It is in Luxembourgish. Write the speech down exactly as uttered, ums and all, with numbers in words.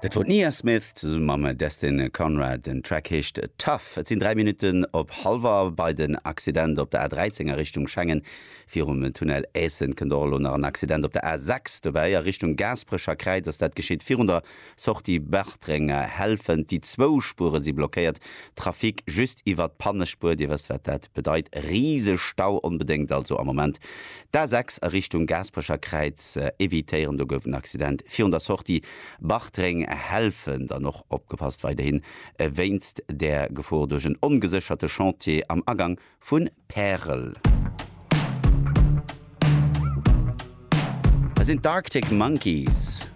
Dat wor d'Nia Smith zesumme mam Destin Conrad. Den Track heescht Tough. Et sinn dräi Minutten op hallwer. Bei den Accident op der A dräizéng a Richtung Schengen virum Tunnel Aessen kënnt och elo nach en Accident op der A sechs dobäi. A Richtung Gaasperecher Kräiz ass dat geschitt virun der Sortie Bartreng-Helfent. Déi zwou Spuere si blockéiert, Trafic just iwwert d'Pannespuer. Dir wësst wat dat bedeit, Risestau. Onbedéngt also am Moment d'A sechs a Richtung Gaasperecher Kräiz evitéieren. Do gouf en Accident virun der Sortie Bartreng Helfent. An och opgepasst weiderhin wéinst der Gefor duerch en ongesécherte Chantier am Agang vu Pärel. Dat sinn d'Arctic Monkeys.